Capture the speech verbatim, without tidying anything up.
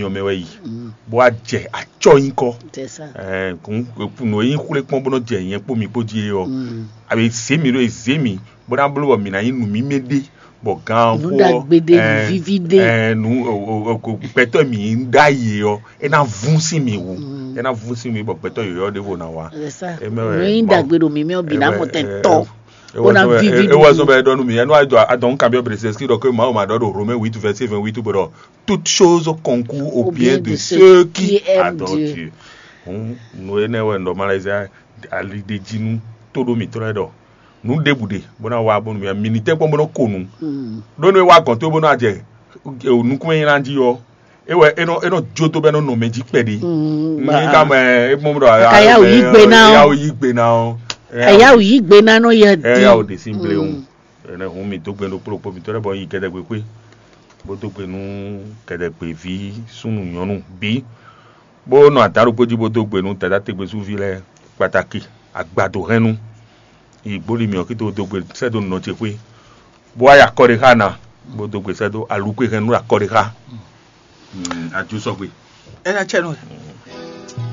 nyɔ mɛ wɛ yi, bó wá jɛ acɔ́ nyí kɔ. Nǔ e nyí xwlé kpɔ́n bó nɔ jɛ nyɛ kpó mi kpó jí é ɔ́, a bɛ zě mì ɖó e zě mì bó ná bló bɔ mǐ ná nyí nǔ mímɛ́ ɖé, bɔ gan xó ɔ́, nǔ gbɛtɔ́ mǐ ɖ'ayǐ ɔ́, é ná vún sín mì wú, é ná vún sín mì bɔ gbɛtɔ́ yɔ̌yɔ́ ɖěvo ná wá. Nǔ e nyí ɖagbe ɖo mǐ mɛ ɔ́ bǐ ná mɔ tɛn tɔ́. Bó ná víví. Ewɔ zɔn bɛ ɖɔ nú mi, ɛnu adɔ adɔn kan biɔ brezɛski ɖɔ ke Mawu ma ɖɔ ɖo Romain huit verset vingt-huit bɔ ɖɔ toute chose concourt au bien de ceux qui adorent Dieu. Hǔn nǔ énɛ́ wɛ un ɖɔ Malaisie ali ɖe jí nú tóɖó mǐtɔn lɛ́ɛ ɖɔ nǔ ɖěbǔ ɖe bó ná wá bónú mi mi ní tɛ́nkpɔ́n bó nɔ́ ko nǔ. Ɖó nú é wá gɔ̌n tó bó ná jɛ nukúnnú e nyí ná jí ɔ́, é wɛ é nɔ é nɔ jó tó bɔ é nɔ nɔ mɛ jí kpɛɖé. Ní ká mɛ é mɔ ɖɔ Ka yá wǔ yí gbe ná ɔ́. Yá wǔ yí gbe ná ɔ́. Ka yá wǔ yí gbe ná nɔ yɛ ɛ yá wò ɖi. Ɖe sí bléwu. Ɛnɛ hǔn mi dó gbe ɖokpó ɖokpó mitɔ́ lɛ́ɛ bɔ nyi kɛdɛgbekpé bó dó gbe nú kɛdɛgbeví súnnu nyɔ̌nu bǐ, bó nɔ adǎn ɖokpó jí bó dó gbe nú dadá tegbésúví lɛ́ɛ kpataki agbado hɛnnu. Yi gbóli mǐ ɔ́ kí tó dó gbe sɛ́ dó nɔ ce xwé, bó wá yi akɔ ɖé xá ná, bó dó gbe sɛ́ dó alukwe hɛnnu akɔ ɖé xá. Ajo sɔgbe. Ena cɛ nɔ.